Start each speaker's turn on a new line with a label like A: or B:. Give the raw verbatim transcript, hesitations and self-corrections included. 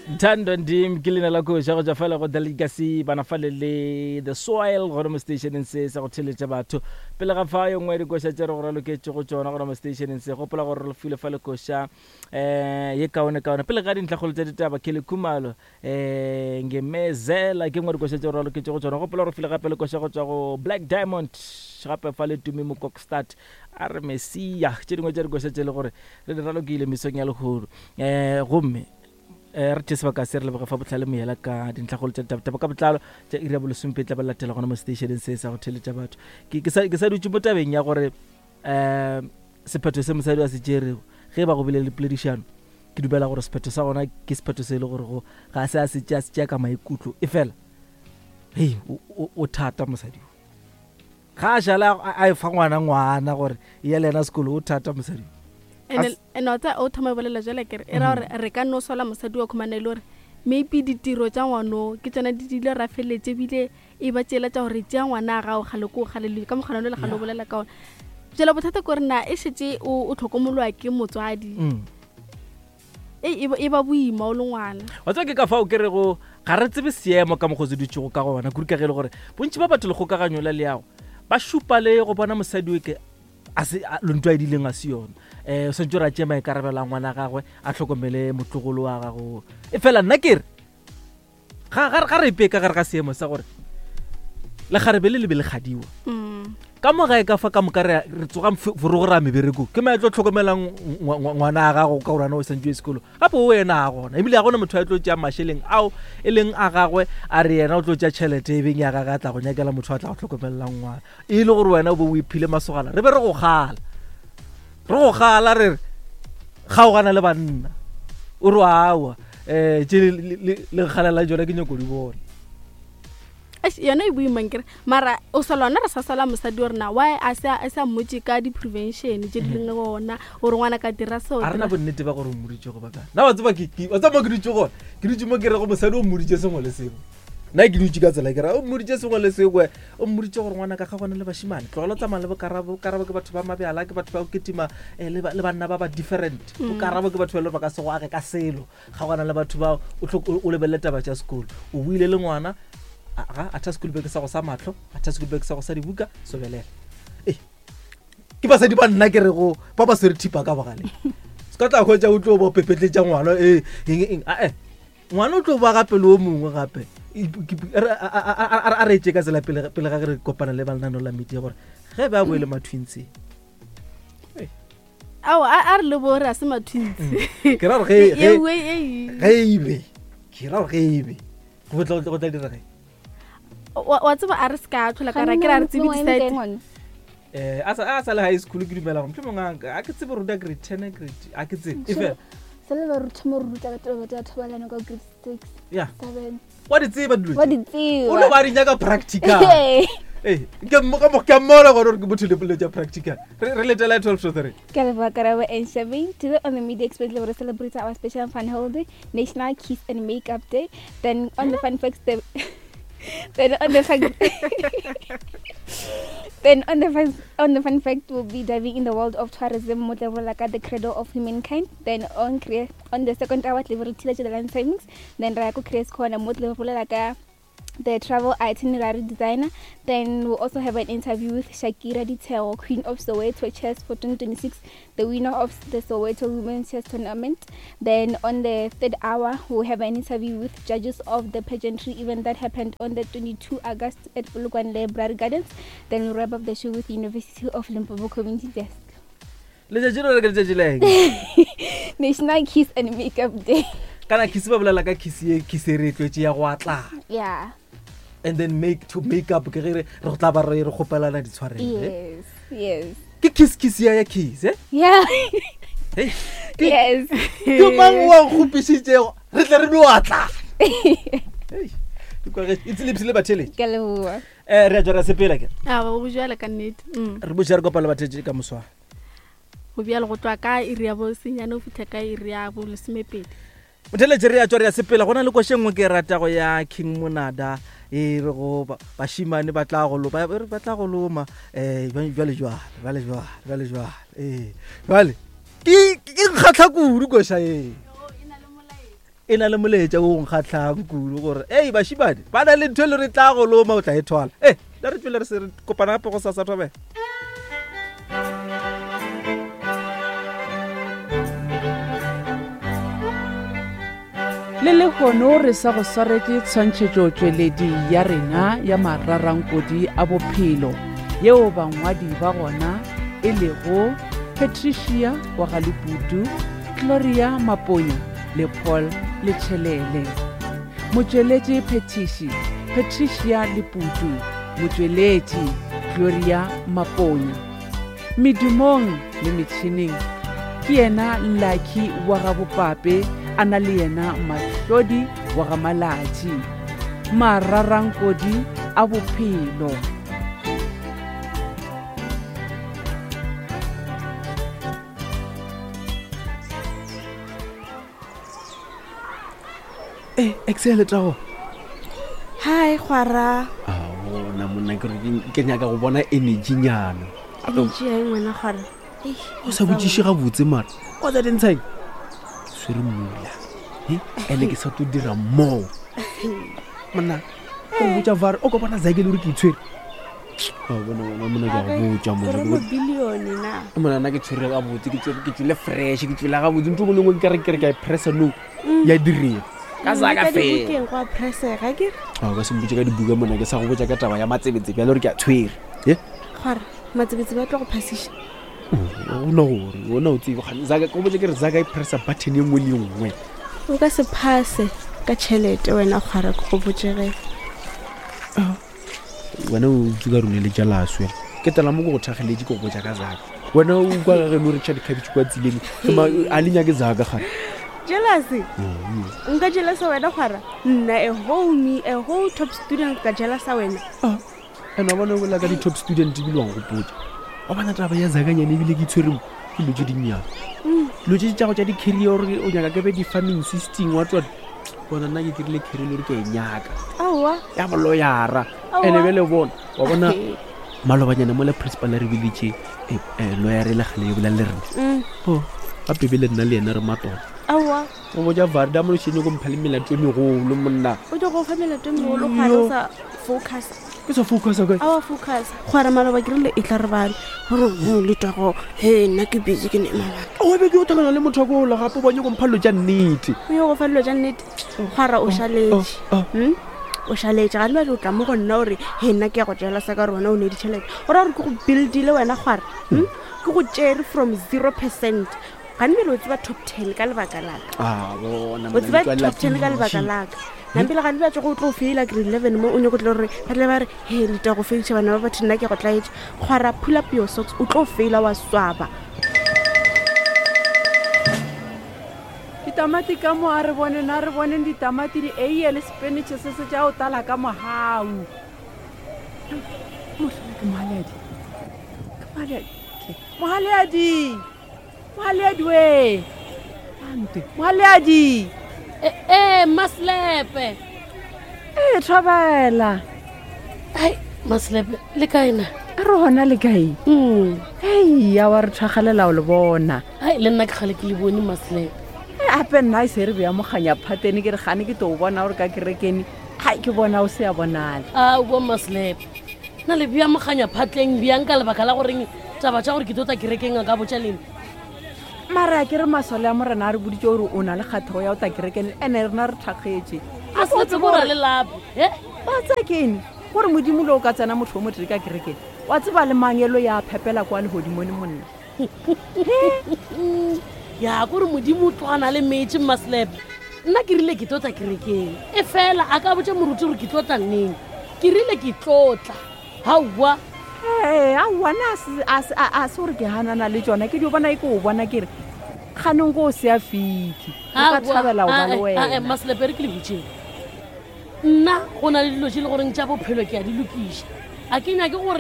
A: Ntando Ndim ke leina la koša go tšwa fela go Delicacy bana fale le The Soil gona mo stationeng se sa go theletša batho. Pele ga fa yo nngwe ya dikoša tše re go raloketše go tšona gona mo stationeng se, gopola gore re file fa le koša um ye kaone kaone. Pele ga dintlhakgolo tša ditaba, Kelly Khumalo um Ngemezela ke nngwe ya dikoša tše re raloketše go tšona. Gopola gore file gape le koša go tšwa go Black Diamond gape fa le Tumi Mokokstad a re Messia, tše dingwe tša dikoša tše e le gore re di ralokile mesong ya lehono. Um gomme um re tše sebaka se re leboge fa Bohlale Moyela ka dintlhakgolo tša ditaba ka botlalo tša iri ya bolesompe tla ba latela gona mo stationeng se sa go theletša batho. Ke ke sa ke sa dutše mo tabeng ya gore um sephetho se mosadi a se tšerego ge ba go bile le poledišano, ke dumela gore sephetho sa gona ke sephetho se e le gore go ga se a se tšea se tšea ka maikutlo, e fela hei o, o, o thata mosadi o. Ga a šala a, a e fa ngwana ngwana gore e ya le yena sekolo, o thata mosadi o.
B: Ene ene wa tseba o thoma bolela jwale kere e ra gore re ka no sola mosadi wa khumana e le gore maybe ditiro tša ngwano ke tsona di dile ra feletse ebile e ba tšela tša gore tšea ngwana a gago kgale ko kgale le ka mokgona le kgale o bolela ka ona. Jwale bothata ke gore na e šetše o o tlhokomolwa ke motswadi.
A: Mm.
B: E, e ba, e ba boima o le ngwana.
A: Wa tseba ke ka fao ke rego ga re tsebe seemo ka mokgwa o se dutšego ka gona, kudu ka ge e le gore bontši ba batho lekgokaganyo la leago ba šupa le go bona mosadi o ke a se, a, lontwa e dileng a se yona. Eh, o swantse gore a tšee maikarabelo a ngwana gagwe, a tlhokomele motlogolo wa gago. E fela nna ke re, ga, ga, ga re ipee ka gare ga seemo sa gore lekgarebe le le be le kgadiwa.
B: Mm.
A: Ka mo gae ka fa ka moka re, re tsoga mf-, forogo ra meberekong, ke mang a tlo tlhokomelang ngwa-, ngwa-, ngwana a gago ka gore wena o santse o ye sekolo? Gape o yena a gona, ebile ga gona motho a tlo tšea mašeleng ao e leng a gagwe, a re yena o tlo tšea tšhelete e beng ya gagwe a tla go nyakela motho a tla go tlhokomelelang ngwana. E le gore wena o be o iphile masogana, re be re go kgala, re go kgala re re kgaogana le banna, o re aowa, um tše le, le, le, le nkgalela tšona ke nyako di bona.
B: Eish, yona e boima nkere, mara o sa lona re sa sola mosadi wa rena, why a sa, a sa mmotse ka di-prevention tše di leng gona gore ngwana ka dira seo,
A: A rena
B: dira
A: bonnete ba gore o mmoditše go ba kae? Nna wa tseba ke, ke, wa tseba mo ke dutše gona? Ke dutše mo ke rego mosadi o mmoditše sengwe le sengwe. Nna ke dutše ka tsela ke ra, o mmoditše sengwe le sengwe, o mmoditše gore ngwana ka ga gona le bashimane, tlogela o tsamaya le bokarabo, karabo ke batho ba mabjala, ke batho ba go kitima, eh, le ba, le banna ba ba different.
B: Mm.
A: Bokarabo ke batho ba e leng gore ba ka se go age ka selo. Ga gona le batho ba o tlo, o, o lebelele taba tša sekolo. O buile le ngwana, a, ga, a tha school bag sa go sa mahlo, a tha school bag sa go sa dibuka, sobelela. Eh, ke basadi ba nna ke rego ba ba swere thipa ka bogaleng. Se ka tla hwetša o tlo ba o pepetletša ngwana, eh, eng, eng, a, eh. Ngwana o tlo ba gape le o mongwe gape. E, ke, ke, re, a, a, a, a, a re tše ka tsela pele, pele ga ge re kopana le ba lenaneo la media gore ge ba boele ma-twins.
B: Ao, a, a re le bo re a se ma-twins.
A: Mm. Ke ra gore ge,
B: E,
A: ge,
B: e, e, e.
A: ge e be, ke ra gore ge e be, go tla, go tla dira ge?
B: Wa, wa tseba a re se ka tlhola ka ra ke ra re tsebe
C: Ga nna
B: di-side.
C: ngwana.
A: Eh, a sa, a sa le high school ke dumela gore mohlomongwe a, a ke tsebe ruta grade ten, grade, a ke tsebe. E fela.
C: Se le ba re thoma re ruta ka taba tsa thobalano ka grade six,
A: Yeah.
C: seven.
A: Wa di tseba dilo
C: Wa
A: tše?
C: di tseba.
A: O no ba di nyaka practical.
C: Ee.
A: Ee, ke mo, ka mo, ke a mmona gona gore ke motho le polelo tša practical. Re, re letela twelve to three.
C: Ke a leboha Karabo and Shabing. Today on the Media Express, we celebrate our special fun holiday, National Kiss and Makeup Day. Then on the fun facts, the then on the fact, then on the fun, on the fun fact, we'll be diving in the world of tourism, mo tla bolela ka the cradle of humankind. Then on crea-, on the second hour, tla be re thila tša the land savings. Then ra ya ko Creates Corner, mo tla be re bolela ka the travel itinerary designer. Then we'll also have an interview with Shakira Ditshego, Queen of Soweto Chess for twenty twenty-six, the winner of the Soweto Women's Chess Tournament. Then on the third hour, we'll have an interview with judges of the pageantry event that happened on the twenty-two August at Polokwane Library Gardens. Then we'll wrap up the show with University of Limpopo Community Desk.
A: Letšatši le re ke letšatši la eng?
C: National Kiss and Makeup Day.
A: Kana kiss ba bolela ka kiss ye, kiss e re e tlwetše ya go atlana.
C: Yeah.
A: And then make to make up ke ge re, re go tla ba re, re kgopelana ditshwarelo, eh?
C: Yes, yes.
A: Ke kiss, kiss ya ya kiss, eh?
C: Yeah.
A: Hey, ke,
C: Yes.
A: ke mang o a nkgopišitšego? Re tle re no atlana. Hey, ke kwa ge, it's lips le batheletši.
C: Ke a leboha.
A: Eh, re a tšwa ra sepela ke.
B: A, ba go bjale ka nnete. Mm.
A: Re botša re kopana le batheletši ka moswane.
B: Go bjale go tloga ka iri ya bo senyane go fihla ka iri ya bo lesomepedi.
A: Motheletši re a tšwa re a sepela. Go na le koša e nngwe ke e ratago ya King Monada, e re go ba-, bašimane ba tla go lo-, ba, ba re ba tla go loma, eh, jwale, jwale, jwale, jwale, jwale, jwale, eh, jwale. Ke, ke nkgahla kudu koša e.
D: E na le molaetša wo nkgatlhang kudu gore ei bašimane ba na le ntho e le re tla go loma o tla e thwala. E le re tswele re se re kopana gape go sasa thobela.
E: Le lehono re sa go swaretše tshwantšhetšotšweledi ya rena ya mararankodi a bophelo yeo bangwadi ba gona e lego Patricia wa Galeputu, Gloria Maponya le Paul Letšhelele. Motšweletši phethiši Patricia Leputu, motšweletši Gloria Maponya. Medumong le metšhineng ke yena Lucky wa ga Bopape a na le yena Mahlodi wa ga Malatši. Mararankodi a bophelo.
F: E excel tago.
G: Hi kgwara.
F: A bona monna ke re ke nyaka go bona energy nyana.
G: Energy ya eng wena kgwara?
F: O sa botšiše gabotse mara. Wa tsa dintshang? Ke swere mmula. He, ene ke sa tlo dira mo. Monna, o botša var o ka bona zake le gore ke itshwere. A bona wena monna ke a go botša
G: Gore
F: monna.
G: mo billion na.
F: Monna nna ke tshwere gabotse, ke tswere ke tswile fresh, ke tswile gabotse. Ntho e nngwe le nngwe ke re ke re ke a e pressa no. Ya direga. Ka zaka
G: Ka
F: fela.
G: dibukeng go a pressega ke re.
F: A o ka se mpotše ka dibuka monna ke sa go botša ka taba ya matsebetsebe ya le gore ke a tshwere. He?
G: Kgwara, matsebetsebe a tlo go phasiša.
F: Ona gore ona o tsebe gane zaka ke go botša ke re zaka e pressa button e nngwe le e nngwe.
G: O ka se phase ka tšhelete wena kgwara ke go botše ge.
F: Wena o tsuka rone le jealous wena. Ke tela mo ke go thakgeletše ke go botša ka zaka. Wena o kwa ga geno re tšha dikhabetšhe kwa tseleng. Ke ma a le nyake zaka gane.
G: Jealousy? Nka jealousa wena kgwara? Nna a whole me, a whole top student ka jealousa wena.
F: Ene wa bona o bolela ka di-top student ebile wa nkgopotša. Wa bona taba ya zakanyane ebile ke itshwere mo ke dilo tše dinnyane. Dilo tše tša go tša di-career gore o nyaka ke be di-farming system wa tswa. Bona nna ke dirile career le gore ke a e nyaka.
G: Aowa.
F: Ya boloyara.
G: Aowa.
F: Ene bjale bona, wa bona malobanyana mola principal a re biditše, eh, eh, lawyer e le kgale e bolela le rena.
G: Mm.
F: Oh, gape bele nna le yena re matona.
G: Aowa.
F: O botša Varda mo lešene go mpha le melato e megolo monna.
G: O tlo go fa melato e megolo kgwara o sa focus.
F: Ke sa focusa kae?
G: Aowa focus. Kgwara maloba ke rile e tla re bale. Gore ho letago, he nna ke busy ke ne mabaka.
F: O be ke o tlhakana le motho wa ko ola gape o bone go mpha dilo tša nnete.
G: O yo go fa dilo tša nnete. Kgwara o šaletše.
F: oh, oh.
G: Hmm? O šaletše ga le o tla mo go nna ore he nna ke ya go jealous ka gore wena o ne ditšhelete. O ra gore ke go buildile wena kgwara. Hmm? Ke go tšere from zero percent. Ga ne bjale o tseba top ten ka lebaka la ka.
F: Ah, bona
G: O
F: monna,
G: tseba
F: letswalo la
G: top ten ka lebaka
F: fiši.
G: la ka. Nampele ga ne bjale go tlo faila grade eleven mo o nyako tlo re ba tle ba re he leta go failša bana ba batho nna ke go tlaetša. Kgwara pull up your socks o tlo faila wa swaba.
E: Ditamati ka mo a re boneng, a re boneng ditamati di eiye le spinach se se tša o tala ka mogau. Mohlala ke Mohaladi. Ke Mohaladi. Mohaladi. Mohaladi we. Ante. Mohaladi.
H: Eh, eh, Maslepe.
E: Eh, thobela.
H: Ai, Maslepe, le kae na?
E: A re hona le kae?
H: Mm.
E: Hei, ya wa re thwagalela o le bona.
H: Ai, le nna ke kgale ke le bone Maslepe.
E: Ape nna e se re bea moganya phatene ke re gane ke to o bona gore ka kerekene. Hai, ke bona o se a bonala.
H: Aowa Maslepe. Nna le bea moganya phatleng bjang ka lebaka la goreng taba tša gore ke tlo tla kerekeng a ka botša lena.
E: Mara ke re masole a morena a re boditše gore o na le kgathego ya go tla kerekeng ene rena re thakgetše.
H: Maslepe ko ra le lape. He?
E: Ba tsaya ke eng? Gore modimo le o ka tsena motho o motee ka kerekeng. Wa tseba le mangelo ya phepela kwa lehodimong monna.
H: Ya kore modimo o tlogana le metše Maslepe. Nna ke rile ke tlo tla kerekeng. E fela a ka botša moruti gore ke tlo tla neng. Ke rile ke tlo tla. Aowa.
E: Ee, aowa nna a se, a se, a, a se gore ke hanana le tšona. Ke dio bona e ke o bona ke re kganong ko o se a fitlhe. O ka
H: Aowa,
E: thabela ho ba le
H: ae, ae,
E: wena.
H: Maslepe re ke le botšeng. Nna go na le dilo tše e le goreng tša bophelo ke a di lokiša. A ke nyake gore